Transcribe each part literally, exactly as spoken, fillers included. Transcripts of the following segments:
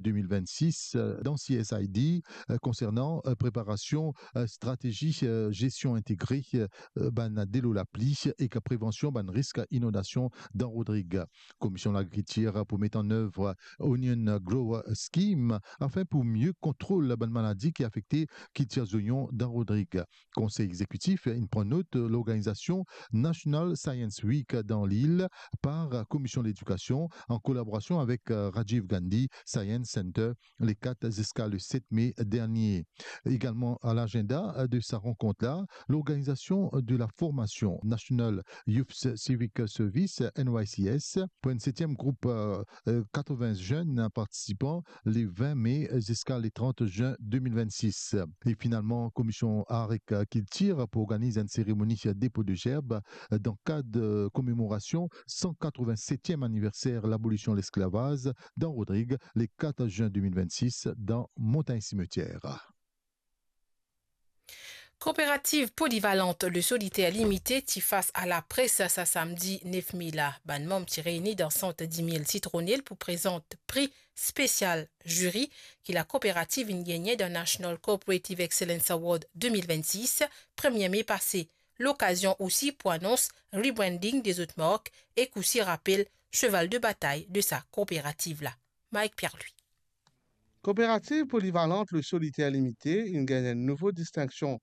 de mil vennsis, euh, dan C S I D, euh, konsernan, euh, preparasion, euh, stratezi, euh, zestion integre, euh, bann delo lapli ek prevansion bann risk inondasion dan Rodrig. Komision Lagrikiltir pou met an nev Onion Grower Scheme afin pou mie kontrol bann maladi ki afekte kiltir zonion dan Rodrig. Konsey Egzekitif inn pran not lorganizasion National Science Week dan lil par Komision Ledikasion an kolaborasion avek, euh, Rajiv Gandhi Science Center le kat ziska le set me dernie. Egalman a lagenda de sa rankont la, lorganizasion de la formasion National Youth Civic Service, N Y C S, pou enn setiem group, euh, euh, katrevin zenn partisipan le vin me ziska le trant zin de mil vennsis. E finalman, Komision Art ek Kiltir pou organiz enn seremoni depo de zerb dan kad, euh, komemorasion san katrevin setiem aniverser labolision lesklavaz dan Rodrig, le kat zin de mil vennsis, dan Montagn Simetier. Kooperativ Polyvalente Le Solitaire Limité ti fas a lapres sa samdi nef me la. Bann manm ti reyni dan sant Dimil Sitronel pou prezant pri spesial ziri ki lakooperativ inn gagne dan National Cooperative Excellence Award de mil vennsis, premie me pase. Lokazion osi pou anons rebranding de zot mark ek osi rapel seval de batay de sa kooperativ la. Mike Pierre-Louis. Kooperativ Polyvalente Le Solitaire Limité inn gagn enn nouvo distinksion.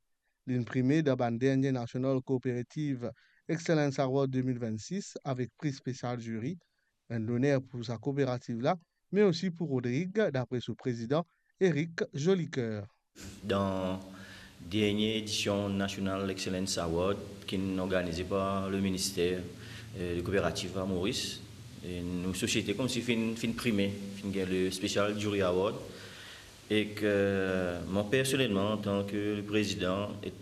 Linn prime dan bann dernie National Cooperative Excellence Award de mil vennsis avek pri spesial ziri. Enn loner pou sa kooperativ la, me osi pou Rodrig, dapre so prezidan Eric Jolicoeur. Dan dernie edision National Excellence Award ki'nn organize par le minister, euh, de Kooperativ a Moris, e nou sosiete koumsi finn, finn prime, finn gagn le Special Jury Award, ek, euh, mwa personelman, antan ke le prezidan, e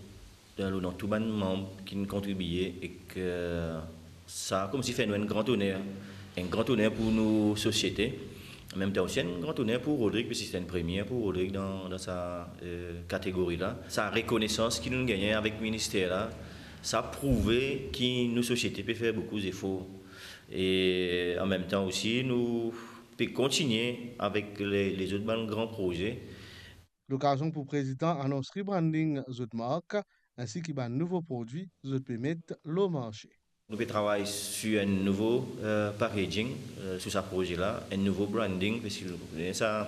dan, dan tou bann manm ki'nn kontribie, ek, euh, sa koumsi fer nou enn gran oner, enn gran oner pou nou sosiete. An mem tan osi enn gran oner pou Rodrig, piski se enn premie pou Rodrig dan, dan sa, euh, kategori la. Sa rekonesans ki nou gagne avek minister la, sa prouve ki nou sosiete pe fer boukou zefor. E an mem tan osi, nou pe kontinie avek le, lezot bann gran proze. Lokazion pou prezidan anons rebranding zot mark, ensi ki bann nouvo prodwi zot pe met lor marse. Nou pe travay sir enn nouvo, euh, packaging, euh, sir sa proze la, enn nouvo branding, paski nou, sa,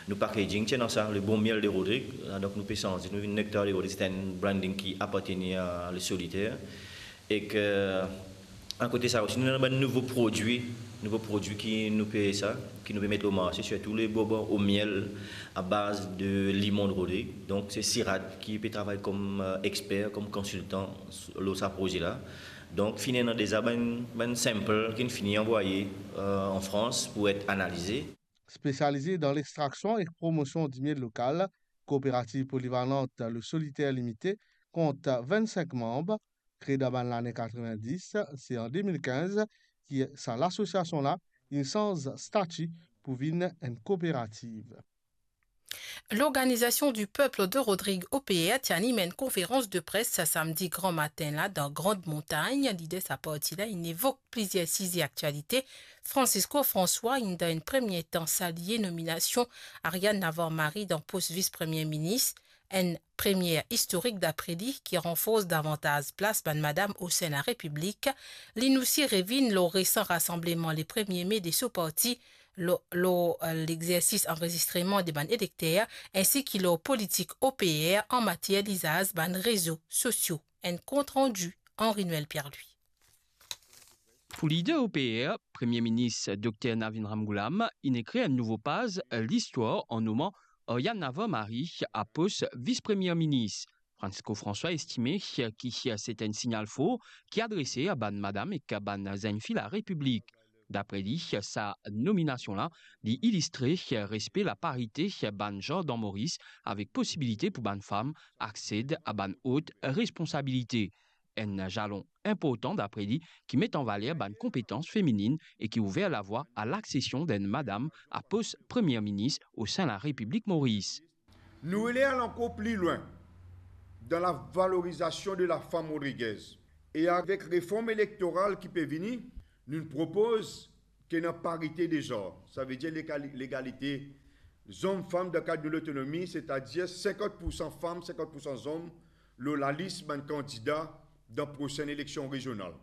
nou packaging ti ena sa, le bon miel de Rodrig, donk nou pe sanze, nou vinn Nectar de Rodrig, se enn branding ki apartenir a Le Solitaire. Ek, euh, akote sa osi, nou ena bann nouvo prodwi, nouvo prodwi ki nou pe sa, ki nou pe met lor marse, sirtou le bonbon o miel a baz de limon de Rodrig. Donk, se Sirat ki pe travay kom, euh, exper, kom konsiltan lor sa proze la. Donk, finn ena deza bann, bann sample ki'nn fini anvwaye, euh, an Frans pou et analize. Spesialize dan lextraksion ek promosion dimiel lokal, Kooperativ Polivalante Le Solitaire Limité kont vennsink manm, kree dan bann lane katrevindis, se an de mil kinz ki sa lasosiasion la inn sanz stati pou vinn enn kooperativ. L'Organisation du Peuple de Rodrig, O P R, ti anim enn konferans de pres sa samdi gran matin la dan Grande Montagne. Lider sa parti la inn evok plizier size aktialite. Francisco François inn dan enn premie tan salie nominasion Ariane Navarre-Marie dan pos vis premie minis, enn premie istorik dapre li ki ranfors davantaz plas bann madam osin larepiblik. Linn osi revinn lor resan rasanbleman le premie me de so parti, lor, lor, euh, lexersis anrezistreman de bann elekter, ensi ki lor politik O P R an matier lizaz bann rezo sosio. Enn kontrandi Henri Noël Pierre-Louis. Pou lider O P R, Premie Minis Dokter Navin Ramgoolam inn ekrir enn nouvo paz listwar an noman Ariane Navarre-Marie a pos vis premie minis. Francisco François estime ki se enn signal for ki adrese a bann madam ek bann zenn fi larepiblik. Dapre li, sa nominasion la, li ilistre respe laparite bann zan dan Moris avek posibilite pou bann fam aksed a bann ot responsabilite. Enn zalon inportan dapre li ki met an valer bann konpetans feminin e ki ouver lavwa a laksesion d'enn madam a pos premie minis osin larepiblik Moris. Nou ale al ankor pli lwin dan lavalorizasion de lafam rodrigez. E avek reform elektoral ki pe vini, nou propoz ki ena parite de zar, savedir legali-, legalite zom-fam dan kad nou lotonomi, setadir sinkant pou san fam, sinkant pou san zom lor lalis bann kandida dan prosenn eleksion rezional.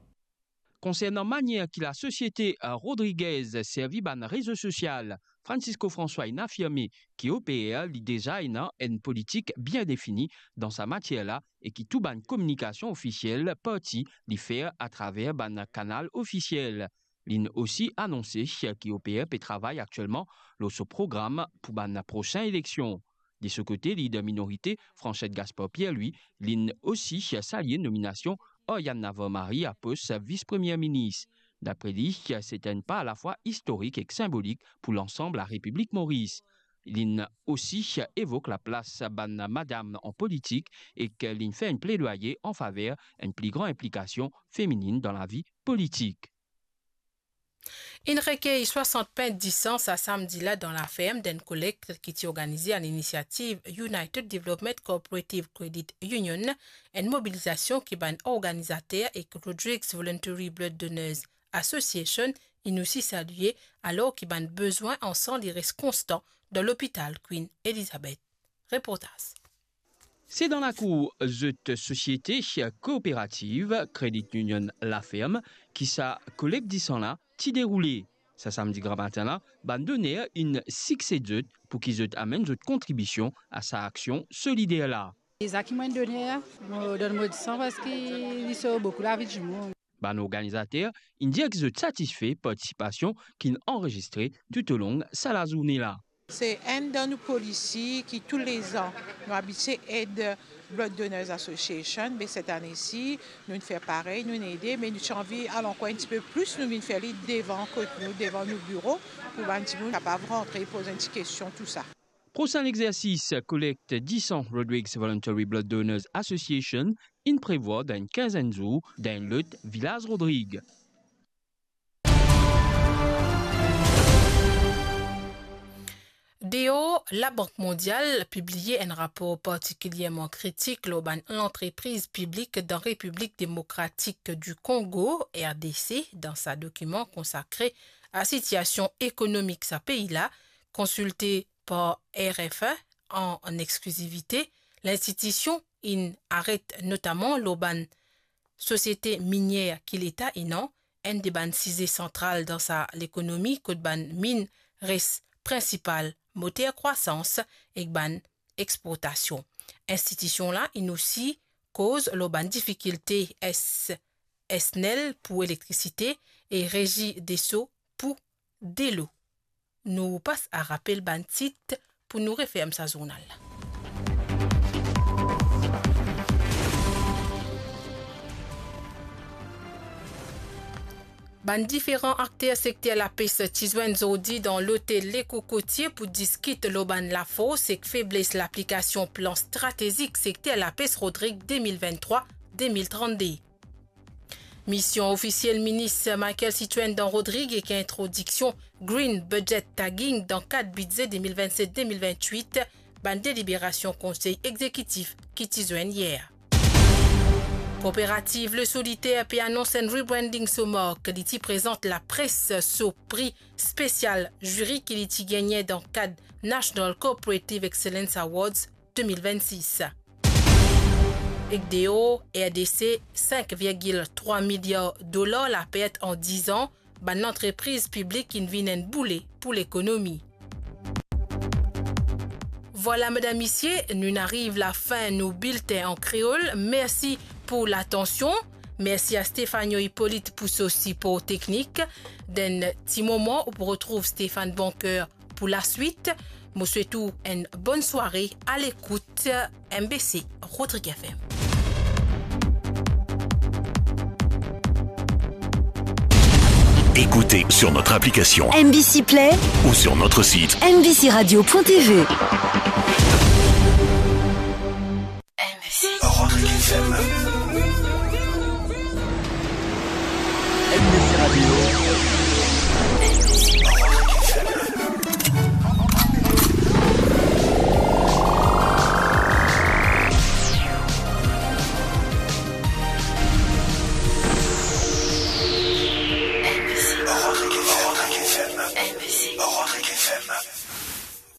Konsernan manier ki lasosiete Rodriguez servi bann rezo sosial, Francisco François inn afirme ki O P R li deza ena enn politik bien defini dan sa matier la e ki tou bann kominikasion ofisiel parti li fer atraver bann kanal ofisiel. Linn osi anonse ki O P R pe travay aktielman lor so program pou bann prosin eleksion. De so kote, lider minorite, Franchette Gaspard Pierre, li, linn osi salie nominasion Oriane Navarre-Marie a pos vis-premie minis. Dapre li, se enn pa alafwa istorik ek sinbolik pou lansam Larepiblik Moris. Linn osi evok laplas bann madam an politik ek linn fer enn pledwaye an faver enn pli gran inplikasion feminin dan lavi politik. Inn rekey swasant pint disan sa samdi la dan laferm dan enn kolekt ki ti organize a linisiativ United Development Cooperative Credit Union, enn mobilizasion ki bann organizater ek Rodrigues Voluntary Blood Donors Association inn osi salie, alor ki bann bezwin an san li res konstan dan lopital Queen Elizabeth. Reportaz. Se dan lakour zot sosiete kooperativ Credit Union Laferm ki sa kolekt disan la ti deroule. Sa samdi gramatin la, bann doner inn sikse zot pou ki zot amenn zot kontribision a sa aksion solider la. Deza ki mo enn doner, mo donn mo disan parski li sov boukou lavi dimoun. Bann organizater inn dir ki zot satisfe partisipasion ki'nn anrezistre toutalong sa lazourne la. Se enn dan nou polisi ki toulezan nou abitie ed Blood Donors Association, me set ane si, nou'nn fer parey, nou'nn ede, me nou ti anvi al ankor enn tipe plis, nou vinn fer li devan kot nou, devan nou biro, pou bann dimoun kapav rantre, poz enn ti kestion, tousa. Prosin lexersis kolekt disan Rodrigues Voluntary Blood Donors Association inn prevwar dan enn kinzenn zour dan enn lot vilaz Rodrig. Deor, Labank Mondial pibliye enn rapor partikilierman kritik lor bann lantrepriz piblik dan Repiblik Demokratik di Kongo, R D C, dan sa dokiman konsakre a sitiasion ekonomik sa pei la, konsilte par R F I an, an exklizivite, linstitision inn aret notaman lor bann sosiete minier ki Leta ena, enn de bann size santral dan sa lekonomi kot bann min res prinsipal moter krwasans ek bann exportasion. Institision la inn osi koz lor bann difikilte S-, SNEL pou elektrisite e Regideso pou delo. Nou pas a rapel bann tit pou nou referm sa zournal la. Bann diferan akter sekter lapes ti zwenn zordi dan lotel Le Cocotier pou diskit lor bann lafors ek febles laplikasion plan stratezik sekter lapes Rodrig de mil venntrwa de mil trannde. Mision ofisiel minis Michaël Citroën dan Rodrig ek introdiksion Green Budget Tagging dan kad bidze de mil vennset de mil venntwit, bann deliberasion konsey exekitif ki ti zwenn yer. Kooperativ Le Solitaire pe anons enn rebranding so mark, li ti prezant lapres so pri spesial ziri ki li ti gagne dan kad National Cooperative Excellence Awards de mil vennsis. Ek deor, R D C, sink virgil trwa miliar dolar lapert an diz an, bann lantrepriz piblik inn vinn enn boule pou lekonomi. Vwala, medam, misie, nou'nn ariv lafin nou biltin an kreol. Mersi pou latansion. Mersi a Stéphanie Hippolyte pou so sipor teknik. Dan enn ti moman, ou pou retrouv Stéphane Boncoeur pou laswit. Mo swet ou enn bonn sware a lekout M B C Rodrig F M. Écoutez sur notre application M B C Play ou sur notre site M B C radio point T V. M B C. Rodrig F M. M B C Radio.